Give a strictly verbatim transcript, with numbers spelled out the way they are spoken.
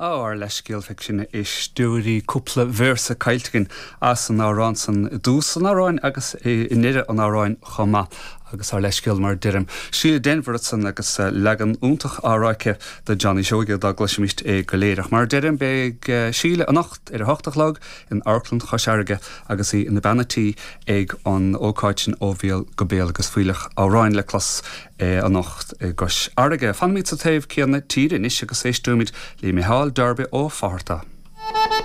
Ár leithscéal feicfidh sibh a éisteoirí cúpla véarsa caillte againn as an amhrán san i dtús an amhráin agus i ndeireadh an amhráin chomh maith agus ár leithscéal mar deirim. Síle Denvir ansan agus leagan iontach á rá aici de Johnny Seoige dá gcloisfimist é go léir. Ach mar deirim beidh Síle anocht ar a hocht a chlog in Amharclann Chois Fharraige agus í ina bean tí ag an ócáid sin ó bhéal go béal agus fuílleach amhráin le clos anocht i gCois Fharraige. Fanfaimid sa taobh céanna tíre anois agus éisteoimid le Micheál Darby Ó Fátharta.